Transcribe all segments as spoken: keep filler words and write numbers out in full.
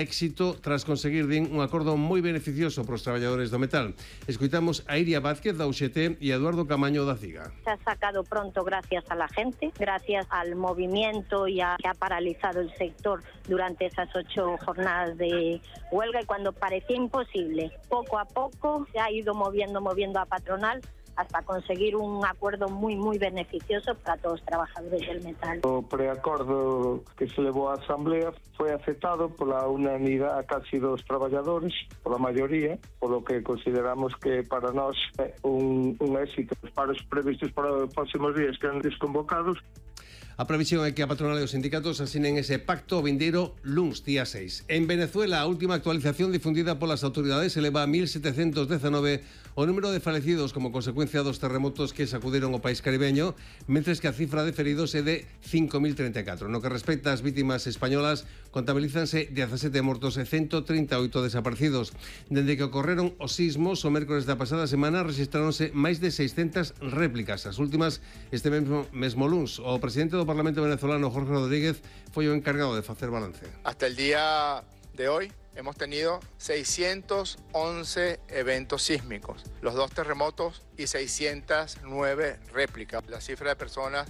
éxito tras conseguir din un acordo moi beneficioso para os traballadores do metal. Escoitamos a Iria Vázquez da U X T e a Eduardo Camaño da CIGA. Se ha sacado pronto gracias a la gente, gracias al movimiento y a, que ha paralizado el sector durante esas ocho jornadas de huelga, y cuando parecía imposible, poco a poco se ha ido moviendo, moviendo a patronal hasta conseguir un acuerdo muy, muy beneficioso para todos los trabajadores del metal. O preacordo que se levou á Asamblea foi aceptado pola unanimidade casi dos traballadores, pola maioría, polo que consideramos que para nós é un, un éxito. Os paros previstos para os próximos días que han desconvocados. A previsión é que a patronal e os sindicatos asinen ese pacto vindeiro luns día seis. En Venezuela, a última actualización difundida polas autoridades eleva a mil setecentos dezanove o número de falecidos como consecuencia dos terremotos que sacuderon o país caribeño, mentres que a cifra de feridos é de cinco mil treinta e catro. No que respecta ás vítimas españolas, contabilízanse dezasete mortos e ciento trinta e oito desaparecidos. Dende que ocorreron os sismos, o mércores da pasada semana registraronse máis de seiscentas réplicas. As últimas este mesmo, mesmo luns. O presidente do Parlamento venezolano, Jorge Rodríguez, foi o encargado de facer balance. Hasta el día de hoy hemos tenido seiscientos once eventos sísmicos, los dos terremotos y seiscientas nueve réplicas. La cifra de personas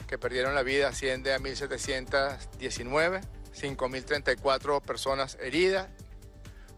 que perdieron la vida asciende a mil setecientos diecinueve, cinco mil treinta y cuatro personas heridas,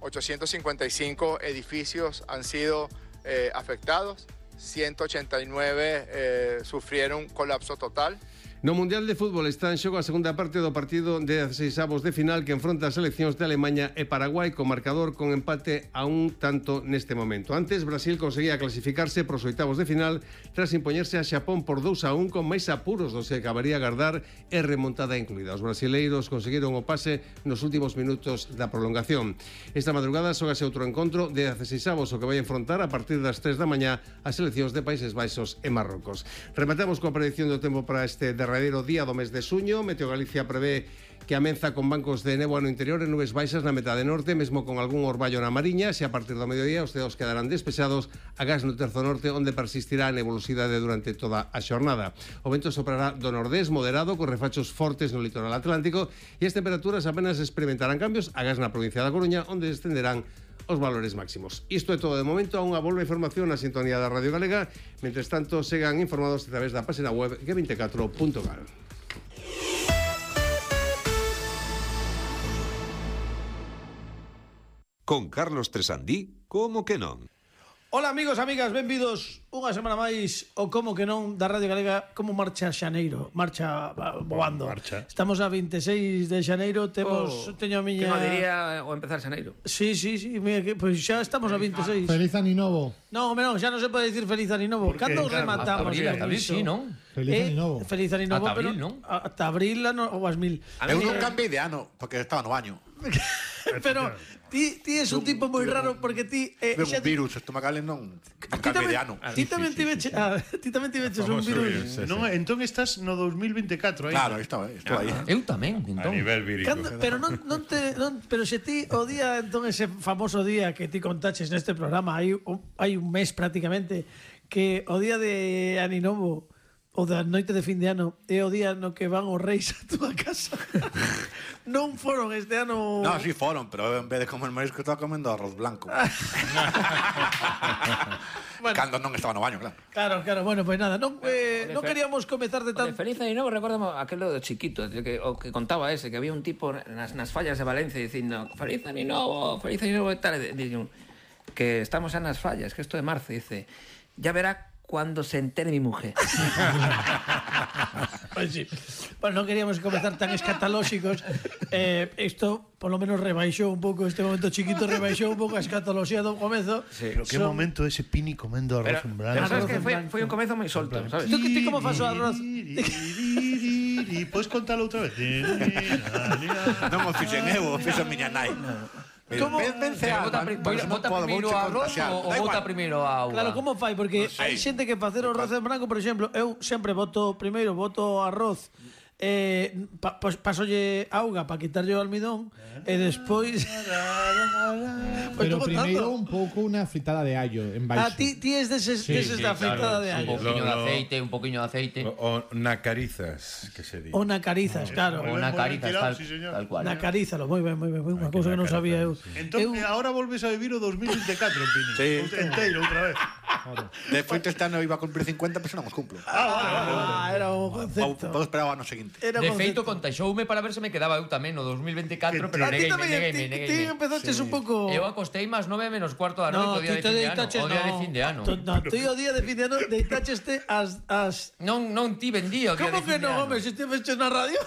ochocientos cincuenta y cinco edificios han sido eh, afectados, ciento ochenta y nueve eh, sufrieron colapso total. No Mundial de Fútbol está en xogo a segunda parte do partido de dezasseis avos de final que enfronta as seleccións de Alemanha e Paraguai con marcador con empate a un tanto neste momento. Antes, Brasil conseguía clasificarse pros oitavos de final tras impoñerse a Xapón por dous a un con máis apuros dos que acabaría a agardar e remontada incluída. Os brasileiros conseguiron o pase nos últimos minutos da prolongación. Esta madrugada xógase outro encontro de dezasseis avos o que vai enfrontar a partir das tres da mañá as seleccións de Países Baixos e Marrocos. Rematamos coa predicción do tempo para este derradeiro día do mes de suño. Meteo Galicia prevé que amenza con bancos de néboa no interior e nubes baixas na metade norte, mesmo con algún orballo na mariña. Se a partir do mediodía os ceos quedarán despexados, agás no terzo norte, onde persistirá a nebulosidade durante toda a xornada. O vento soprará do nordés moderado, con refachos fortes no litoral atlántico, e as temperaturas apenas experimentarán cambios, agás na provincia da Coruña, onde descenderán os valores máximos. Isto é todo de momento. A unha volva información na sintonía da Radio Galega. Mentres tanto, segan informados a través da página web ge veinticuatro punto gal. Con Carlos Tresandí, como que non? Ola amigos, amigas, benvidos unha semana máis o Como que non da Radio Galega. Como marcha xaneiro? Marcha voando. Marcha. Estamos a veintiséis de xaneiro. Temos, oh, teño a miña... Que non diría o empezar xaneiro. Sí, sí, sí, mira, que, pues xa estamos a veintiséis. Feliz Aninovo. No, hombre, non, xa non se pode dicir Feliz Aninovo. Cando rematamos? Hasta abril, hasta abril, sí, non? Feliz eh, Aninovo. Feliz Aninovo, Ata abril, pero non? Ata abril ou as mil. Eu non cambiei de ano, porque estaba no baño. Pero ti, ti es un tipo moi raro porque ti eh, Veo un virus estomacales non non cambiei de ano. Ti tamén ti veches, ah, ti tamén ti veches un virus. Non, entón estás no dos mil veinticuatro aí. Claro, estaba, estou aí. Eu tamén, entón. A nivel vírico. Cando, pero non, non te non, pero se ti o día entón ese famoso día que ti contaches neste programa hai un, hai un mes prácticamente que o día de Aninovo o da noite de fin de ano é o día no que van os reis a túa casa. Non foron este ano. No, sí foron, pero en vez de comer marisco estaba comendo arroz blanco. Bueno, cando non estaba no baño, claro. Claro, claro, bueno, pues nada, non, eh, non queríamos comezar de tan... Feliz Aninovo, recordamos aquelo do chiquito, de que, o que contaba ese, que había un tipo nas, nas fallas de Valencia dicindo Feliz Aninovo, Feliz Aninovo e tal, e dicen que estamos xa nas fallas, que isto é marzo, dice, ya verá cuando se entere mi mujer. Pues sí. Bueno, non queríamos comezar tan escatolóxicos. Eh, isto, por lo menos, rebaixou un pouco este momento chiquito, rebaixou un pouco a escatoloxía do comezo. Sí. Pero que Son... momento ese Pini comendo arroz en branco. Pero sabes que foi, foi un comezo moi solto, sabes? Tú, ti como fas o arroz? E podes contalo outra vez? Non o fixen eu, o fixo a miña nai. Como vence a bota, bota primeiro a arroz ou bota primeiro a auga? Claro, como fai? Porque hai xente que facer o arroz en branco, por exemplo, eu sempre boto primeiro boto arroz eh, pa, pues, pasolle auga para quitarlle o almidón e despois pero primeiro un pouco unha fritada de allo en baixo. A ti ti es deses, Sí, deses sí, da fritada claro, de sí. allo. Un poquinho de aceite, un poquinho de aceite. O, o nacarizas, que se di. O nacarizas, claro. O nacarizas, tal, sí, señor. tal cual. Nacarízalo, moi ben, moi ben, unha cousa que non sabía eu. Entón, eu... ahora volves a vivir o dos mil veinticuatro, Pini. Sí. Enteiro, outra vez. De feito, este ano iba a cumplir cincuenta, pero non os cumplo. Ah, era o Vou, concepto. vou esperar ao ano seguinte. Era De concepto. feito, contaixoume para ver se me quedaba eu tamén no dos mil veinticuatro, pero A ti negueime, tamén, negueime, ti, ti negueime. empezaches un pouco... Eu acostei máis nove menos cuarto da noite o día de fin de ano. O día de fin de ano. No, ti o día de fin de ano deitacheste as... as... Non, non ti vendía o día de Como que fin de non, ano. home, se estiveches na radio?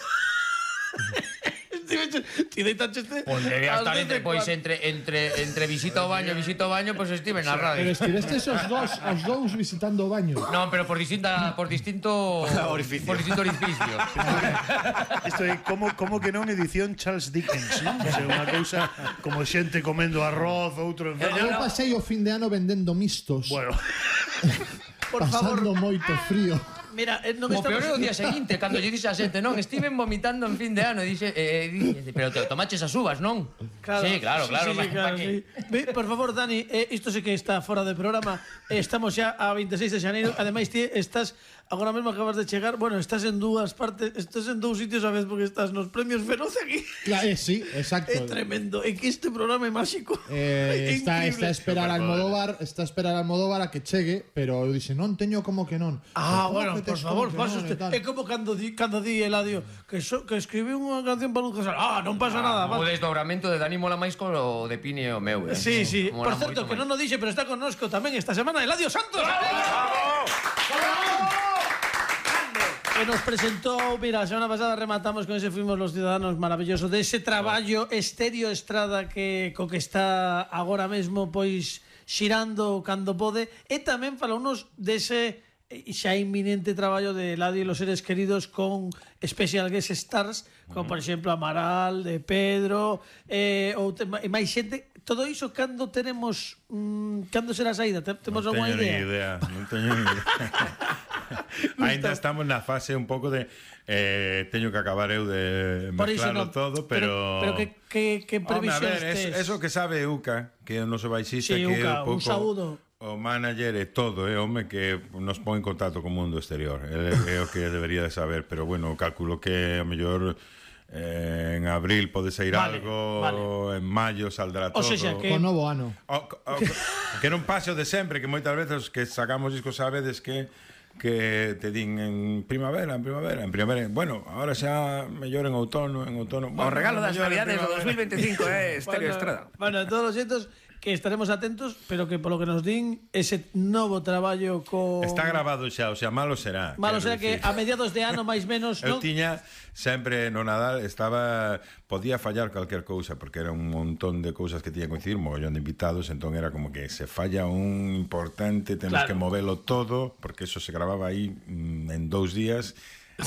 Estiveches... Ti deitacheste... Pois debía ás estar dez entre, e pois, cuarto. entre, entre, entre visita ao baño e visita ao baño, pois estive na Pero radio. estivestes os dous, os dous visitando o baño. Non, pero por distinta por distinto Orificio. por distinto orificio. Isto é como, como que non edición Charles Dickens, non? O sea, unha cousa como xente comendo arroz, outro enfermo. Eu pasei o fin de ano vendendo mistos. Bueno, Por favor, pasando moito frío. mira, eh, non O estamos... peor é o día seguinte, cando lle dixe a xente, non, estiven vomitando en fin de ano, e dixe, eh, dixe, pero te tomaches as uvas, non? Claro, Sí, claro, claro, sí, sí, pa- claro, pa que- sí. Ve, por favor, Dani, eh, isto sí que está fora de programa. Eh, Estamos xa a veintiséis de xaneiro. Ademais, ti estás agora mesmo acabas de chegar. Bueno, estás en dúas partes, estás en dous sitios a vez porque estás nos premios Feroz aquí. Claro, eh, sí, exacto. É tremendo. É que este programa é máxico. Eh, É está, increíble. está a esperar a Almodóvar, está a esperar a Almodóvar a que chegue, pero eu dixe, non teño como que non. Ah, Como bueno, que por tes favor, como que pasa non e usted. tal? É como cando di, cando di Eladio que, so, que escribí unha canción para un casal. Ah, non pasa nada. O va. desdobramento de Dani mola máis co o de Pini e o meu. Eh? Sí, sí. Mola Por certo, moito que máis. non o dixe, pero está connosco tamén esta semana Eladio Santos. Que nos presentou, mira, a semana pasada rematamos con ese Fuimos los Ciudadanos maravilloso, de ese traballo Estéreo Estrada que co que está agora mesmo pois xirando cando pode, e tamén falounos dese xa inminente traballo de Eladio e los seres queridos con Special Guest Stars, como por exemplo Amaral, de Pedro, eh, ou te, e máis xente. Todo iso cando teremos mm, cando será a saída? Te- Temos Non alguna teño idea? ni idea, non teño ni idea. Ainda estamos na fase un pouco de eh, teño que acabar eu de Por iso mezclarlo non. todo, pero Pero, pero que, que, que Home, a previsións ver, es, tes? eso que sabe Uca, que é o noso baixista, Sí, que é Uca, un un pouco saúdo. o manager e todo, é home que nos pon en contacto co mundo exterior. É, é o que debería de saber, pero bueno, calculo que a mellor eh, en abril pode sair Vale, algo, vale. en maio saldrá O todo. sexa, que- Co novo ano. O, o, que non pase o de sempre, que moitas veces que sacamos discos sabedes que que te din en primavera, en primavera, en primavera. Bueno, ahora xa mellor en outono, en outono. O Bueno, regalo das mellor en navidades do primavera. dos mil veinticinco é Estéreo Bueno, Estrada. Bueno, en todos os xeitos que estaremos atentos, pero que polo que nos din ese novo traballo co Está grabado xa, o sea, malo será. Malo quero será que dicir. a mediados de ano máis menos, Eu non? tiña sempre no Nadal estaba podía fallar calquer cousa porque era un montón de cousas que tiña que coincidir, mogollón de invitados, entón era como que se falla un importante, temos Claro. que movelo todo, porque eso se grababa aí mm, en dous días.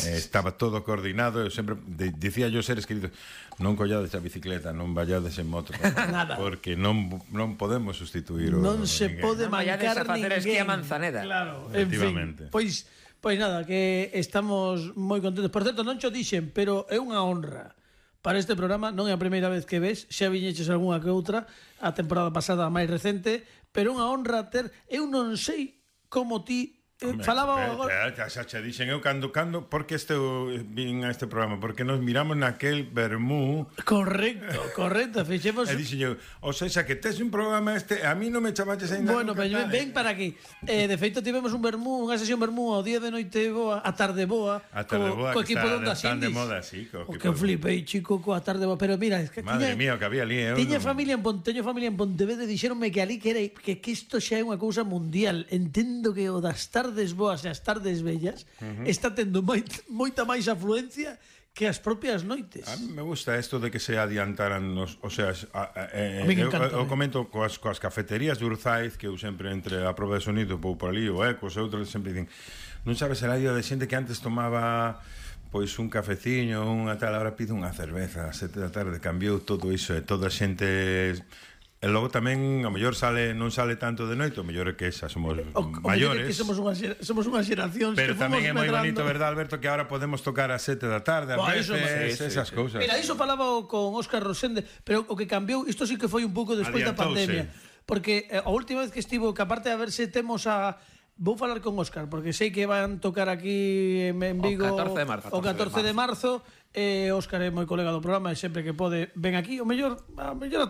Eh, estaba todo coordinado. Eu sempre de, dicía yo seres queridos, non collades a bicicleta, non vallades en moto, Nada. porque non non podemos sustituir o, Non se ninguén. pode Non vayades mancar a facer ninguén. esquí a Manzaneda. Claro, en Efectivamente. fin. Pois, pois nada, que estamos moi contentos. Por certo, non cho dixen, pero é unha honra para este programa. Non é a primeira vez que ves, xa viñeches algunha que outra, a temporada pasada a máis recente, pero é unha honra ter, eu non sei como ti eh, Home, falaba eh, agora. eh, xa che dixen eu cando cando porque este vin a este programa porque nos miramos naquel vermú Correcto, correcto, fixemos. e dixen eu, o sea, que tes un programa este, a mí non me chamaches ainda. Bueno, nunca, ven, tal. ven para aquí. Eh, de feito tivemos un vermú, unha sesión vermú ao día de noite boa, a tarde boa, A tarde co, boa, co que equipo está- de Ondas están de Indies. moda, sí, co O equipo que de- flipei, chico, coa tarde boa, pero mira, es que Madre tiña, mía, o que había ali, eu tiña non- familia en Ponte, teño familia en Pontevedra e dixeronme que ali que era que, que isto xa é unha cousa mundial. Entendo que o das tardes boas e as tardes bellas Ujú. está tendo moi, moita máis afluencia que as propias noites. A mí me gusta esto de que se adiantaran nos, o sea, a, a, eh, A mí me eu, encanta, eu eh. comento coas, coas cafeterías de Urzaiz que eu sempre entre a proba de sonido vou por ali, o Ecos, e outros sempre dicen, non sabes a radio de xente que antes tomaba pois un cafeciño, unha tal, ahora pide unha cerveza a sete da tarde, cambiou todo iso e toda a xente E logo tamén, ao mellor sale, non sale tanto de noite, ao mellor é que xa somos O, o maiores. Que somos unha, xera- somos unha xeración Pero que fomos tamén é moi medrando. bonito, verdad, Alberto, que ahora podemos tocar a sete da tarde, a Buah, veces, iso é- sí, esas sí, cousas. Mira, iso falaba con Óscar Rosende, pero o que cambiou, isto sí que foi un pouco despois da Adiantouse. pandemia, porque eh, a última vez que estivo, que aparte de a ver se temos a vou falar con Óscar, porque sei que van tocar aquí en, en Vigo O catorce de marzo. o catorce de marzo, e Óscar é moi colega do programa e sempre que pode ven aquí, o mellor, a mellor ata